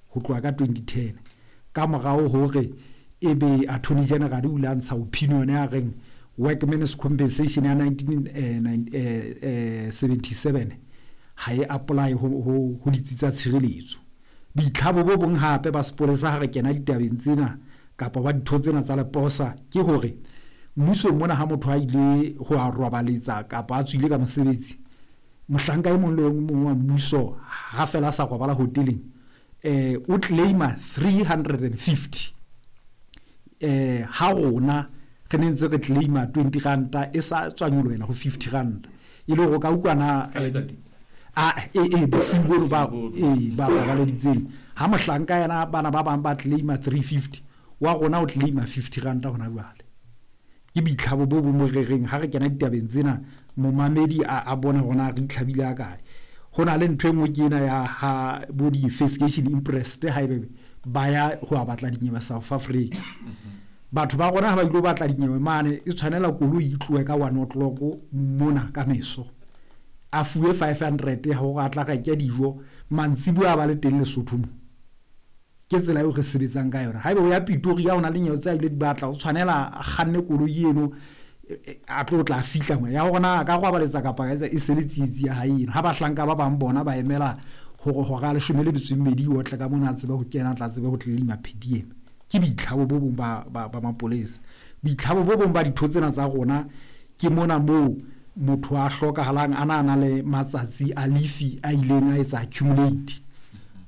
Ho tloha ka 2010 ka morao hore ebe Attorney General o ile a ntsha opinion ya reng Workmen's Compensation ya 1977 ha e apply ho ditsi tsa tshireletso. Boitlhabo bo bong hape ba sepolesa ha re kena ditabeng tsena kapa ba ditho tsena tsa leposa ke hore mmusong mona ha motho a ile ho a robaletsa kapa a tswile ka mosebetsi, mohlanka e mong le mong wa mmuso ha fela a sa robala hoteleng, o claima 350. Ha rona re ne ntse re claima 20 ranta e sa tswa nyolohela ho 50 ranta, e le hore o ka utlwa na Ka letsatsi? A e bosiu bono ba Bosiu bono. E ba robaleditseng, ha mohlanka yena bana ba bang ba claima 350, wa rona o claima 50 ranta hona jwale. Ke boitlhabo bo bong bo re reng ha re kena ditabeng tsena, momamedi a bone hore na re itlhabile a kae. Ho na le ntho e nngwe ke ena ya ha bo di-investigation impressed haebe ba ya ho a batla dinyewe South Africa. Batho ba rona ha ba ilo batla dinyewe mane, e tshwanela koloi e tlohe ka 1 o'clock mona ka meso, a fuwe 500 hore a tla reke dijo mantsibuya a ba le teng Lesotho mo. Ke tsela eo re sebetsang ka yona. Haeba o ya Pretoria, o na le nyewe tse a ile di batla, o tshwanela a kganne koloi eno, a tlo tla fihla mo ya hore na a ka robaletsa kapa ka etsa e se le tsietsi ya hae eno. Ha bahlanka ba bang bona ba emela hore hora ya 12 o tle ka mona, a tsebe ho kena, a tla tsebe ho claima per diem. Ke boitlhabo bo bong ba mapolesa. Boitlhabo bo bong ba ditho tsena tsa rona ke mona moo motho a hlokahalang a na le matsatsi a leave a ileng a etsa accumulate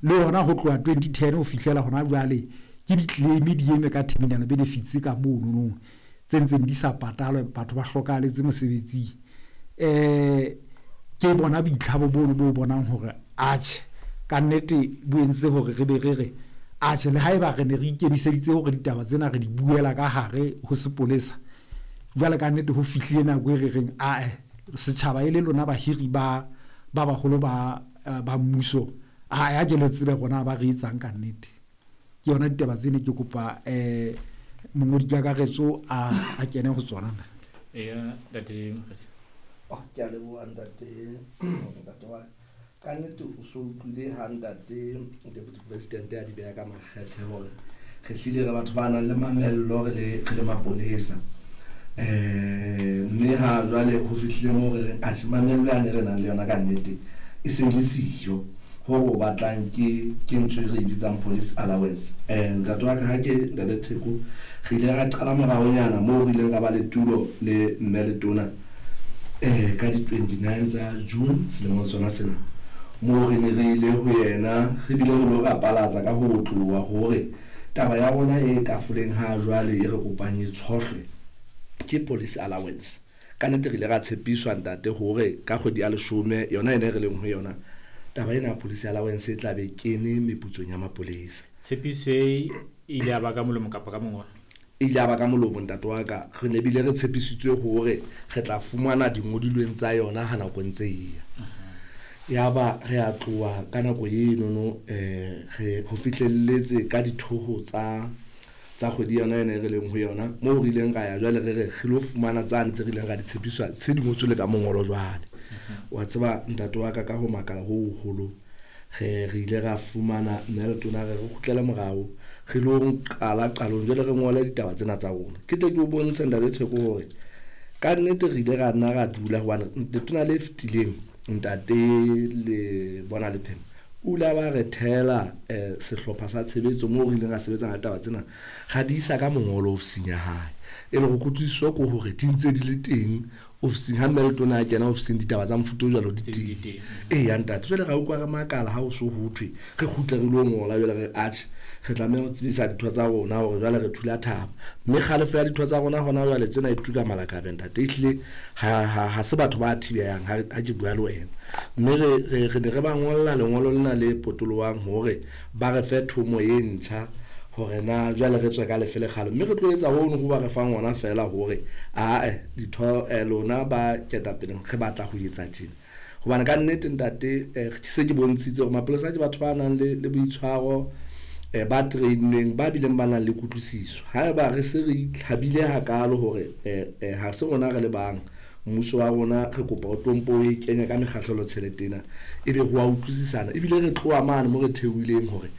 le yona ho tloha 2010 ho fihlela hona jwale. Ke di-claim di eme ka terminal benefits ka mono nong tse ntseng di sa patalwe, batho ba hlokahaletse mosebetsing. Ke bona boitlhabo bono bo bonang hore atjhe, ka nnete bo entse hore re be re re atjhe, le haeba re ne re ikemiseditse hore ditaba tsena re di buela ka hare ho sepolesa, jwale ka nnete ho fihlile nako e re reng ae, setjhaba e le lona bahiri ba baholo ba mmuso, a ya ke le tsebe rona ba re etsang ka nnete. Ke yona ditaba tsene ke kopa mongodi kakaretso a kene ho tsona. Eya, ntate Mokgethi. Oh, ke a leboha ntate, ntate wa ka nnete o so utlwile ha ntate Deputy President a di beha ka makgethe hore re hlile re batho ba nang le mamello, re le mapolesa. Mme ha jwale ho fihlile moo re reng atjhe, mamello yane re nang le yona ka nnete e se le siyo. Ho o batlang ke ntho e re e bitsang police allowance. Ntate wa ka, ha ke ntate Theko, re ile ra qala moraonyana moo re ileng ra ba le tulo le mme le tona ka di 29 tsa June selemong sona sena, moo re ne re ile ho yena, re bile re lo rapalatsa ka ho otloha hore taba ya rona e tafoleng ha jwale e re kopang e tshohlwe ke police allowance. Ka nnete re ile ra tshepiswa ntate hore ka kgwedi ya 10 yona ena e re leng ho yona, taba ena ya police allowance e tla be kene meputsong ya mapolesa. Tshepiso e ile ya ba ka molomo kapa ka mongolo? E ile ya ba ka molomo, ntate wa ka. Re ne bile re tshepisitswe hore re tla fumana dingodilweng tsa yona ha nako e ntse e ya. Yaba re a tloha ka nako enono, re ho fihlelletse ka dithoho tsa kgwedi yona ena e re leng ho yona, moo re ileng ra ya jwale re re re lo fumana tsane tse re ileng ra di tshepiswa tse di ngotswe le ka mongolo jwale. Wa tseba ntate wa ka, ka ho makala ho hoholo, re ile ra fumana mme le tona re kgutlele morao, re lo qala qalong jwale re ngole ditaba tsena tsa rona. Ke tle ke o bontshe ntate Theko hore ka nnete re ile ra nna ra dula, hobane letona le fetileng ntate le bona Lephema o ile a ba re thela sehlopha sa tshebetso moo re ileng ra sebetsana le taba tsena, ra di isa ka mongolo ofising ya hae, e le go kutlwisiso ko hore di ntse di le teng ofising. Ha mme le tona a kena ofising, ditaba tsa mofuta o jwalo di Tse di teng. Teng. Eya ntate, jwale ra utlwa re makala ha o so ho thwe re kgutle re lo ngola. Jwale re atjhe, re tlameha ho tsebisa ditho tsa rona hore jwale re thula thaba, mme kgalefo ya ditho tsa rona hona jwale tsena e tuka malakabe ntate. Ehlile ha se batho ba thibeyang ha ke bua le wena, mme re ne re ba ngolla lengolo lena le potolohang hore ba re fe thomo e ntjha hore na jwale re tswe ka lefe lekgalo, mme re tlo etsa hono ho ba re fang ona feela hore ae ditho, lona ba ketapeleng, re batla ho etsa tjena, hobane ka nnete ntate, se ke bontshitse hore mapolesa ke batho ba nang le boitshwaro, ba trainweng, ba bileng ba nang le kutlwisiso. Haeba re se re itlhabile hakalo hore ha se rona re le bang mmuso wa rona, re kopa o tlompo o e kenya ka mekgahlelo tjhelete ena, ebe ho a utlwisisana, ebile re tloha mane mo re theohileng hore